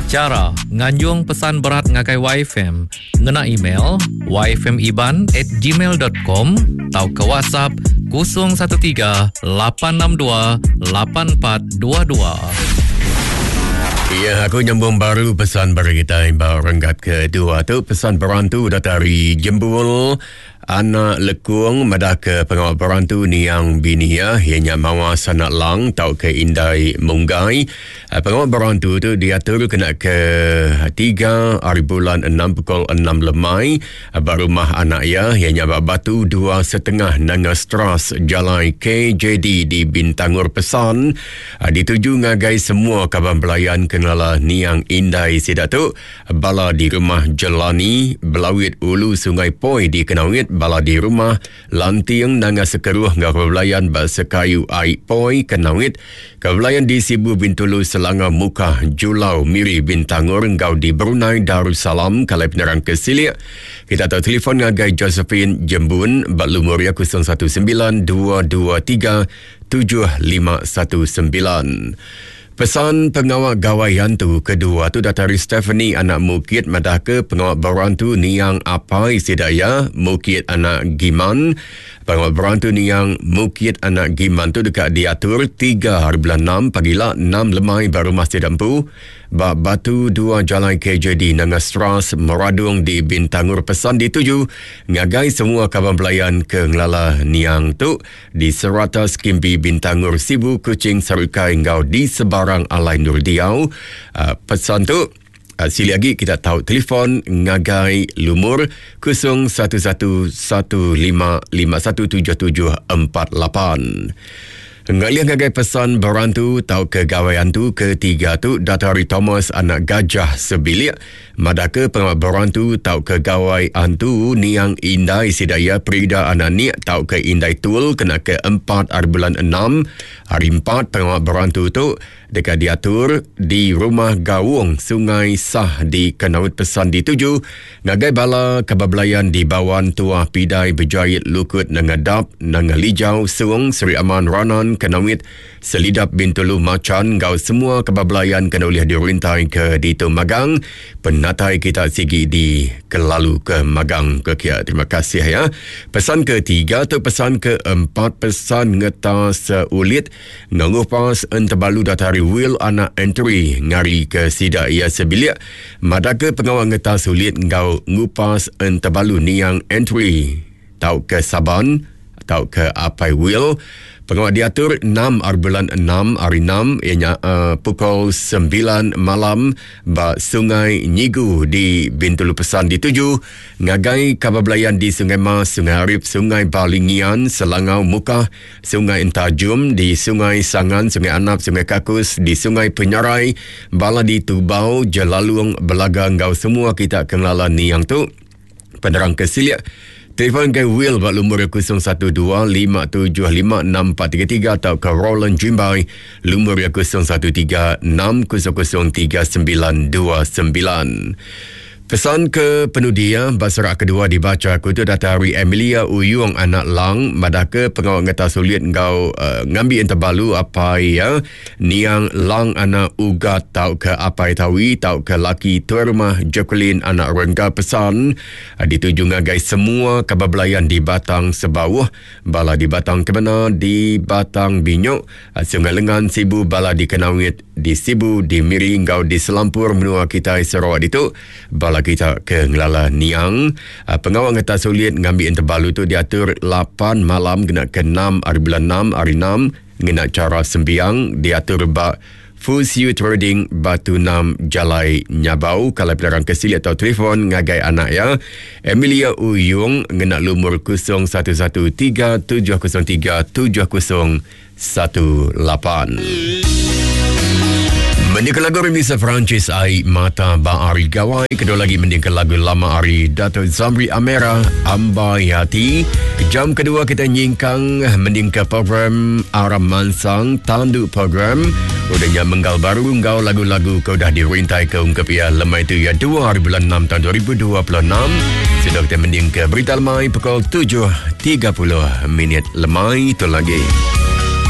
Chara nganjung pesan berat ngagai YFM ngena email yfmiban at gmail dot com tauka WhatsApp 013 862 8422. Ya, aku nyambung baru pesan bagi kita ba renggat kedua tu pesan berantu datai ari Jembul Anak Lekung madahka pengawa berantu niang bini iya, iya nya Mawas Anak Lang tauka Indai Munggai. Pengawa berantu tu diatur kena ke tiga ari bulan enam pukul enam lemai ba rumah anak iya, iya nya ba Batu Dua Setengah Nanga Stras, Jalai KJD di Bintangor Pesan dituju ngagai semua kaban belayan ke ngelala niang indai sida tu. Bala di Rumah Jelani, Belawit Ulu Sungai Poi di Kenawit, bala di Rumah Lanting Nanga Sekeruh enggau Kebelayan ba Sekayu Ai Poi, Kenawit, Kebelayan di Sibu Bintulu Selangau Mukah, Julau, Miri Bintangor enggau di Brunei Darussalam kalai penerang ke silik kita tau telefon ngagai Josephine Jembun ba lumur iya 019 223 7519. Pesan pengawa Gawai Antu kedua tu datai ari Stephanie anak Mukit madahka pengawa berantu niang apai sida iya Mukit anak Giman. Pengawa berantu niang Mukit anak Giman tu deka diatur tiga hari bulan enam pagila enam lemai ba rumah sida empu ba Batu Dua Jalai KJD Nanga Stras Meradong di Bintangor pesan dituju ngagai semua kaban belayan ke ngelala niang tu. Di serata Skimbi Bintangor Sibu Kuching Sarukai enggau di sebarang alai endur diau. Pesan tu sili agi kita tau telefon ngagai lumur 011155517748. Ngalih ngagai pesan berantu tauka gawai antu ketiga tu datai ari Thomas anak Gajah sebilik Madahka pengawa berantu tauka gawai antu niang indai sida iya Prida anak Nik tauka Indai Tul kena ke empat ari bulan enam hari empat pengawa berantu tu deka diatur di Rumah Gaung Sungai Sah di Kanowit Pesan dituju ngagai bala kaban belayan di Bawan Tuah Pidai Bejait Lukut Nanga Dap Nanga Lijau Sung Sri Aman Ranan Kanowit Selidap Bintulu Machan enggau semua keba belayan kena ulih dirintai ke ditu magang. Penatai kita sigi di kelalu ke magang ke kia. Terima kasih ya. Pesan ke tiga tu pesan ke empat pesan ngeta seulit enggau ngupas entebalu datai ari Will anak Entry ngari ke sida iya sebilik madahka pengawa ngeta sulit enggau ngupas entebalu niang Entry tauka Saban tauka Apai Will. Pengawa diatur enam ari bulan enam ari enam iya nya uh, pukul sembilan malam ba Sungai Nyigu di Bintulu Pesan dituju ngagai kaban belayan di Sungai Mas, Sungai Arip, Sungai Balingian, Selangau, Mukah, Sungai Entajum, di Sungai Sangan, Sungai Anap, Sungai Kakus, di Sungai Penyarai, bala di Tubau, Jelalung, Belaga enggau semua kita ke ngelala niang tu. Penerang ke silik, telefon ke Will ba lumur 0125756433 tauka Roland Jimbai lumur 0136003929. Pesan ke penudi iya ba serak kedua dibacha aku tu datai ari Emilia Uyung anak Lang madahka pengawa ngetas ulit enggau uh, ngambi entebalu apai iya Niang Lang anak Ugat tauka Apai Tawi tauka laki tuai rumah Jacqueline anak Rengga pesan dituju ngagai semua kaban belayan di Batang Sebauh, bala di Batang Kemena, di Batang Binyok, Sungai Lengan, Sibu, bala di Kenawit, di Sibu, di Miri enggau di selampur menua kitai Sarawak ditu. Bala kita ke ngelala niang, pengawa ngetas ulit ngambi entebalu tu diatur lapan malam kena ke enam ari bulan enam ari enam, Ngena chara sembiang diatur ba Fusiu Trading Batu Enam Jalai Nyabau kalai penerang ke silik tau telefon ngagai anak iya Emilia Uyung ngena lumur 011 3703 7018. Mendingka lagu remisa Perancis Ai Mata Ba Ari Gawai. Kedua lagi mendingka lagu lama ari Dato Zamri Amera Ambai Hati. Jam kedua kita nyingkang mendingka program Aram Mansang Tandu Program. Udah nya menggal baru enggau lagu-lagu ke udah dirintai ke ungkup iya lemai tu iya 2 hari bulan 6 tahun 2026. Sudah kita mendingka berita lemai pukul 7.30 minit lemai tu lagi.